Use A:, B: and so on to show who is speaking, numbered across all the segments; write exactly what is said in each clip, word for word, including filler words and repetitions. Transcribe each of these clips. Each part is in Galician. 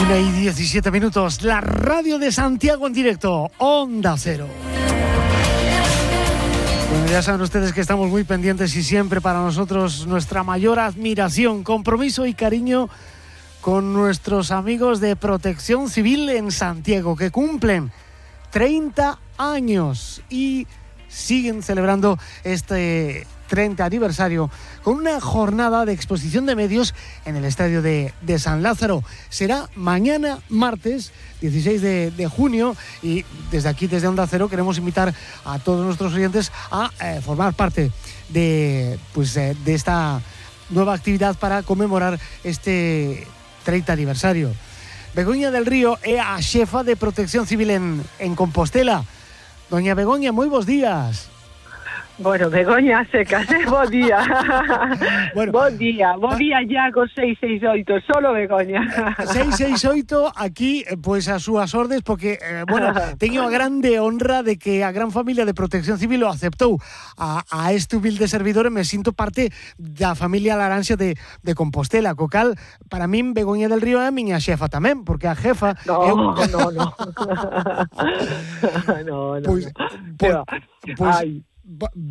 A: una y diecisiete minutos, la radio de Santiago en directo, Onda Cero. Bueno, ya saben ustedes que estamos muy pendientes y siempre para nosotros nuestra mayor admiración, compromiso y cariño con nuestros amigos de Protección Civil en Santiago, que cumplen treinta años y siguen celebrando este treinta aniversario con una jornada de exposición de medios en el estadio de, de San Lázaro. Será mañana martes dieciséis de, de junio y desde aquí, desde Onda Cero, queremos invitar a todos nuestros oyentes a eh, formar parte de, pues, eh, de esta nueva actividad para conmemorar este treinta aniversario. Begoña del Río é a xefa de Protección Civil en, en Compostela. Doña Begoña, moi bos días.
B: Bueno, Begoña secas, eh? Bo día. Bueno, bo día, bo día ya con seis seis oito, solo Begoña.
A: seis seis oito aquí, pois as súas ordes, porque, eh, bueno, teño a grande honra de que a gran familia de Protección Civil o aceptou a, a este humilde servidor e me sinto parte da familia Laranxa de, de Compostela, co cal, para min, Begoña del Río é a miña xefa tamén, porque a jefa...
B: No,
A: é
B: un... no, no. no, no,
A: pois,
B: no.
A: Pois, pois,
B: Ai.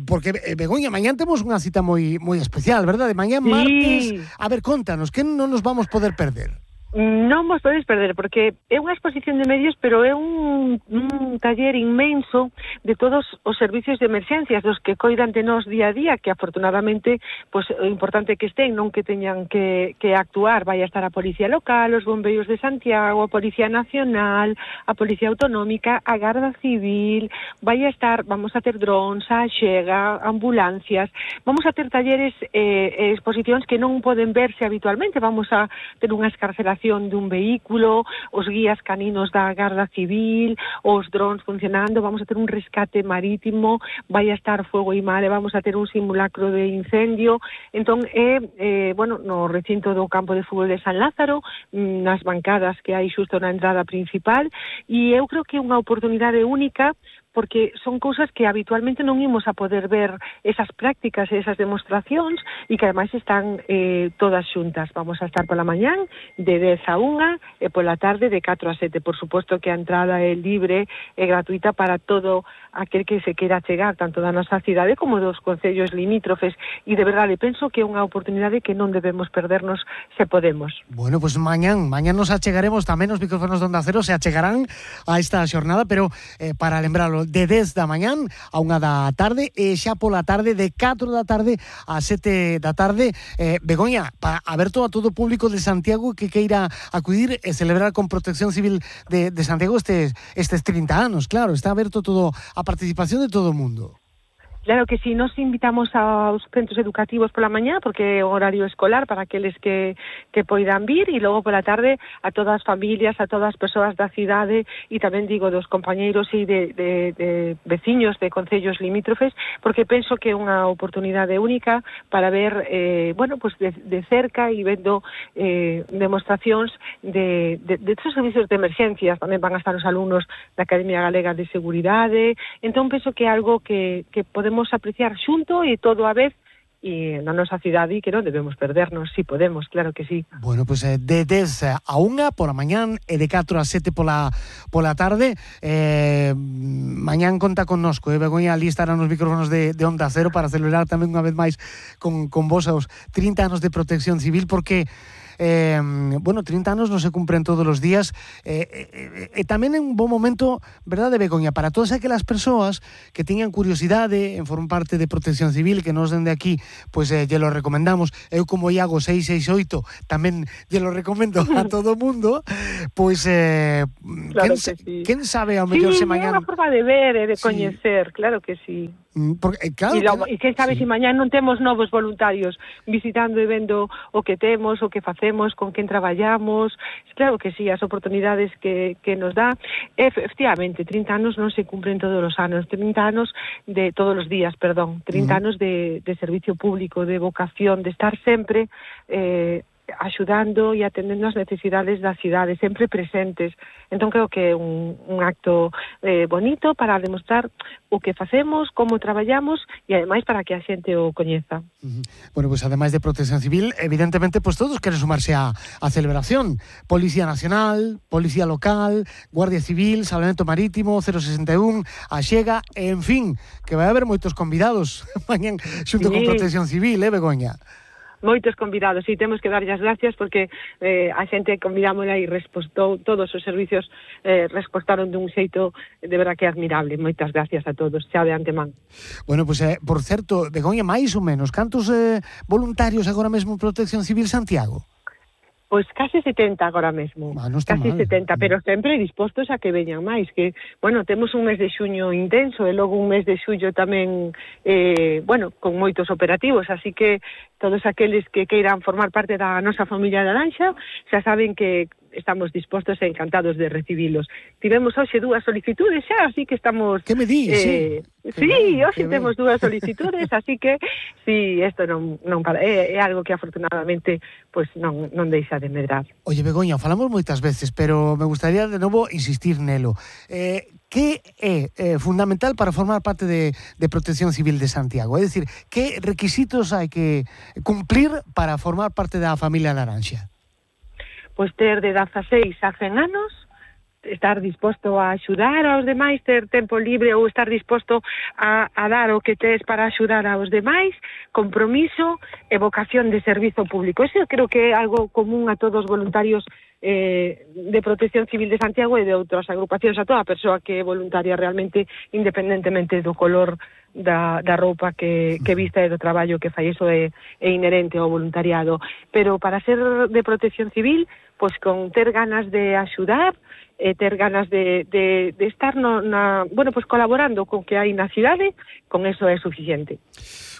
A: Porque, Begoña, mañán temos unha cita moi moi especial, verdade? Mañán
B: sí.
A: martes. A ver, contanos, que non nos vamos poder perder?
B: Non vos podedes perder, porque é unha exposición de medios, pero é un, un taller inmenso de todos os servicios de emerxencias, dos que coidan de nós día a día, que afortunadamente, pues, o importante que estén, non que teñan que, que actuar. Vai a estar a Policía Local, os Bombeiros de Santiago, a Policía Nacional, a Policía Autonómica, a Garda Civil, vai a estar, vamos a ter drones, a Xega, ambulancias, vamos a ter talleres e eh, exposicións que non poden verse habitualmente, vamos a ter unha escarcelación dun vehículo, os guías caninos da Garda Civil, os drones funcionando, vamos a ter un rescate marítimo, vai a estar Fuego e Mar, vamos a ter un simulacro de incendio. Entón, é, eh, bueno, no recinto do campo de fútbol de San Lázaro, nas bancadas que hai xusto na entrada principal, e eu creo que é unha oportunidade única, porque son cousas que habitualmente non imos a poder ver, esas prácticas e esas demostracións, e que ademais están eh, todas xuntas. Vamos a estar pola mañán de dez a unha e pola tarde de catro a sete. Por suposto que a entrada é libre e gratuita para todo aquel que se queira chegar, tanto da nosa cidade como dos concellos limítrofes, e de verdade penso que é unha oportunidade que non debemos perdernos se podemos.
A: Bueno, pues mañán, mañán nos achegaremos tamén os micrófonos de Onda Cero, se achegarán a esta xornada, pero eh, para lembralo, de dez da mañán a unha da tarde e xa pola tarde de catro da tarde a sete da tarde. eh, Begoña, para aberto a todo o público de Santiago que queira acudir e celebrar con Protección Civil de, de Santiago estes, estes trinta anos, claro, está aberto todo a participación de todo o mundo.
B: Claro que sí, nos invitamos aos centros educativos pola mañá, porque é o horario escolar para aqueles que, que poidan vir, e logo pola tarde a todas as familias, a todas as persoas da cidade, e tamén digo dos compañeiros e de, de, de veciños de concellos limítrofes, porque penso que é unha oportunidade única para ver, eh, bueno, pues de, de cerca e vendo eh, demostracións de, de, de estos servicios de emerxencias. Tamén van a estar os alumnos da Academia Galega de Seguridade. Entón penso que é algo que, que podemos apreciar xunto e todo a vez e na nosa cidade, e que non debemos perdernos, si podemos, claro que sí.
A: Bueno, pues eh, de dez a unha pola mañán e de catro a sete pola, pola tarde. eh, mañán conta connosco, eh, Begoña, ali estarán os micrófonos de, de Onda Cero para celebrar tamén unha vez máis con, con vos aos trinta anos de Protección Civil, porque Eh, bueno, trinta anos non se cumpren todos os días, e eh, eh, eh, tamén é un bom momento, verdade, Begoña, para todas aquelas persoas que teñan curiosidade en formar parte de Protección Civil, que nos dende aquí, pois pues, eh, lle lo recomendamos. Eu como Iago seis seis oito tamén lle lo recomendo a todo o mundo. Pois eh,
B: claro
A: quen,
B: que sí.
A: quen sabe ao mellor
B: sí,
A: se mañán...
B: Sí, é unha forma de ver e de coñecer, sí. Claro que sí.
A: Porque, claro,
B: e, logo, e quen sabe sí. Se mañán non temos novos voluntarios visitando e vendo o que temos, o que facemos, con quen traballamos. Claro que sí, as oportunidades que, que nos dá. Efectivamente, trinta anos non se cumpren todos os anos, trinta anos de todos os días, perdón, trinta uh-huh. anos de, de servicio público, de vocación, de estar sempre eh, axudando e atendendo as necesidades da cidade, sempre presentes. Entón creo que é un, un acto eh, bonito para demostrar o que facemos, como traballamos e ademais para que a xente o coñeza.
A: Uh-huh. Bueno, pues ademais de Protección Civil, evidentemente pues todos queren sumarse a, a celebración. Policía Nacional, Policía Local, Guardia Civil, Salvamento Marítimo, cero sesenta e un, a Xega, en fin, que vai haber moitos convidados mañan xunto sí. con Protección Civil, eh, Begoña?
B: Moitos convidados, e temos que darlle as gracias porque eh, a xente convidámola e respostou, todos os servicios eh, respostaron dun xeito de verdad que admirable. Moitas gracias a todos, xa de antemán.
A: Bueno, pues, eh, por certo, Begoña, máis ou menos, cantos eh, voluntarios agora mesmo en Protección Civil Santiago?
B: Pois case setenta agora mesmo,
A: ah, no
B: case
A: mal.
B: setenta, pero sempre dispostos a que veñan máis, que, bueno, temos un mes de xuño intenso e logo un mes de xullo tamén, eh, bueno, con moitos operativos, así que todos aqueles que queiran formar parte da nosa familia Laranxa xa saben que estamos dispostos e encantados de recibilos. Tivemos hoxe dúas solicitudes xa, así que estamos...
A: Que me dis?
B: Eh, sí, sí hoxe temos dúas solicitudes, así que sí, isto non, non para, é, é algo que afortunadamente pues, non, non deixa de medrar.
A: Oye, Begoña, falamos moitas veces, pero me gustaría de novo insistir nelo. Eh, que é eh, fundamental para formar parte de, de Protección Civil de Santiago? É dicir, que requisitos hai que cumplir para formar parte da familia Laranxa?
B: Pois ter de dezaseis a cen anos, estar disposto a axudar aos demais, ter tempo libre ou estar disposto a, a dar o que tes para axudar aos demais, compromiso e vocación de servizo público. Eso creo que é algo común a todos os voluntarios eh, de Protección Civil de Santiago e de outras agrupacións, a toda persoa que é voluntaria realmente, independentemente do color da, da roupa que, que vista e do traballo que fai, iso é, é inherente ao voluntariado. Pero para ser de Protección Civil, pois con ter ganas de axudar, e ter ganas de, de, de estar no, na, bueno, pues colaborando con que hai na cidade, con eso é suficiente.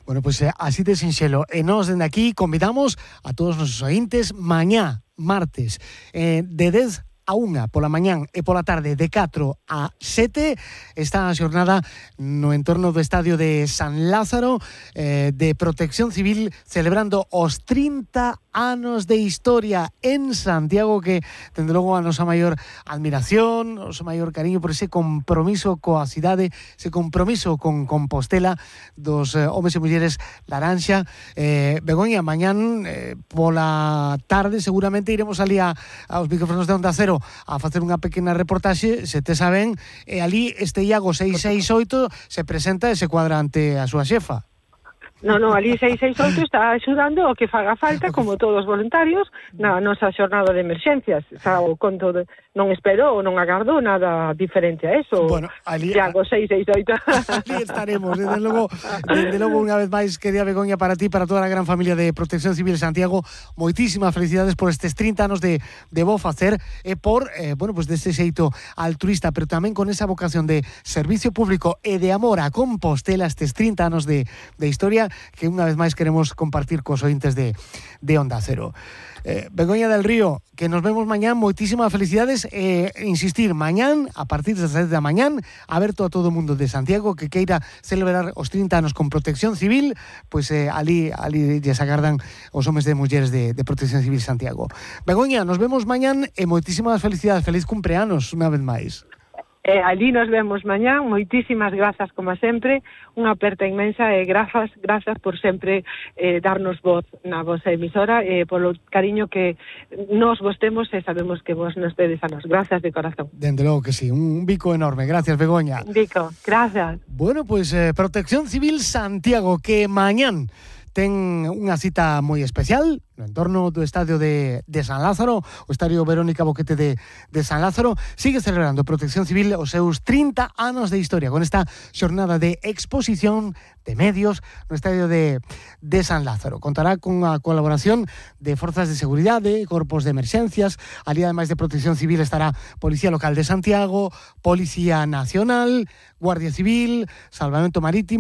A: Bueno, pues eh, así de sinxelo. E nós, dende aquí, convidamos a todos os nosos ointes mañá, martes, eh, de dez a unha pola mañán e pola tarde de catro a sete está a xornada no entorno do estadio de San Lázaro eh, de Protección Civil celebrando os trinta anos de historia en Santiago, que dende logo a nosa maior admiración, o noso maior cariño por ese compromiso coa cidade, ese compromiso con Compostela dos eh, homes e mulleres Laranxa. eh, Begoña, mañán eh, pola tarde seguramente iremos ali a, aos micrófonos de Onda Cero a facer unha pequena reportaxe, se te saben, e ali este Iago seis seis oito se presenta e se cuadra ante a súa xefa.
B: No, no, ali seis seis oito está axudando o que faga falta, como todos os voluntarios, na nosa xornada de emerxencias. Xa o conto de, non espero ou non agardo nada diferente a eso.
A: Bueno, ali
B: Iago seis seis oito.
A: Ali estaremos, desde logo, desde logo unha vez máis, querida Begoña, para ti, para toda a gran familia de Protección Civil Santiago, moitísimas felicidades por estes trinta anos de, de bo facer e por, eh, bueno, pues deste xeito altruista, pero tamén con esa vocación de servicio público e de amor a Compostela, estes trinta anos de, de historia que unha vez máis queremos compartir cos ointes de, de Onda Cero. Eh, Begoña del Río, que nos vemos mañán, moitísimas felicidades e eh, insistir, mañán, a partir das sete da mañán, aberto a todo o mundo de Santiago que queira celebrar os trinta anos con Protección Civil, pois eh, ali, ali lles agardan os homes de mulleres de, de Protección Civil Santiago. Begoña, nos vemos mañán e moitísimas felicidades, feliz cumpleanos unha vez máis.
B: Eh, ali nos vemos mañán, moitísimas grazas como sempre, unha aperta inmensa e grazas, grazas por sempre eh, darnos voz na vosa emisora e eh, polo cariño que nos vos temos e sabemos que vos nos tedes a nos. Grazas de corazón.
A: Dende logo que sí, un bico enorme. Gracias, Begoña.
B: Un bico, gracias.
A: Bueno, pues eh, Protección Civil Santiago, que mañán ten unha cita moi especial no entorno do estadio de, de San Lázaro, o estadio Verónica Boquete de, de San Lázaro. Sigue celebrando Protección Civil os seus trinta anos de historia con esta xornada de exposición de medios no estadio de, de San Lázaro. Contará con a colaboración de forzas de seguridade, corpos de emerxencias. Ali, ademais de Protección Civil, estará Policía Local de Santiago, Policía Nacional, Guardia Civil, Salvamento Marítimo,